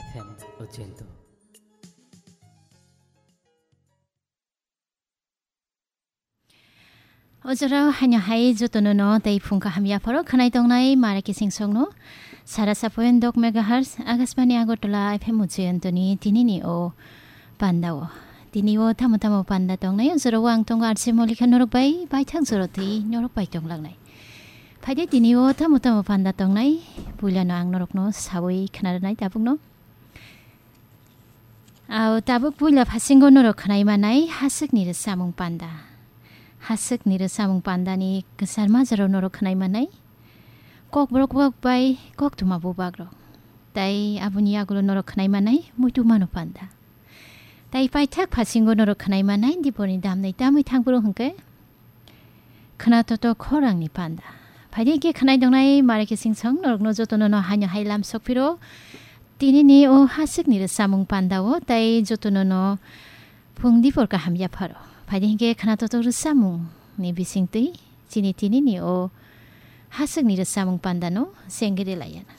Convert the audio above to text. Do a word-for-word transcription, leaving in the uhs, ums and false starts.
F M Ujjain. O jorao haino hai jotono no tei phung kaham yapharo khwnai tongnai Mara Kising songno sara sapoin dok megahertz Akashbani Agartala F M Ujjain ni tinini o panda o. Tini o tamo tamo panda tongnai, o jorao ang tongo R J Molika norok bai baithang joro twi norok bai tonglangnai. Phaide tini o tamo tamo panda tongnai, puilano ang norokno sawi khwnarwnai tabukno. Ao tabuk puila phasingo norok khwnai manai haswkni rwsamung panda. Haswkni rwsamung pandani kwchar majaro norok khwnai manai kokborok bak bai koktwma bubagrok. Tai aboni yagulo norok khwnai manai muitu mano panda. Tai paithak phasingo norok khwnai manai diporni damnai tamwi thangphuru hwnkhe khwna toto khorangni panda. Phaidi khe khwnai dongnai Mara Kising song norokno jotono no haino hai lam sokphiro. Tinini o haswkni rwsamung panda o tai jotono no phung dipor kaham yapharo. Phaidi khe khwna toto rwsamung ni bisingtwi chini tinini o haswkni rwsamung panda no sengri layana.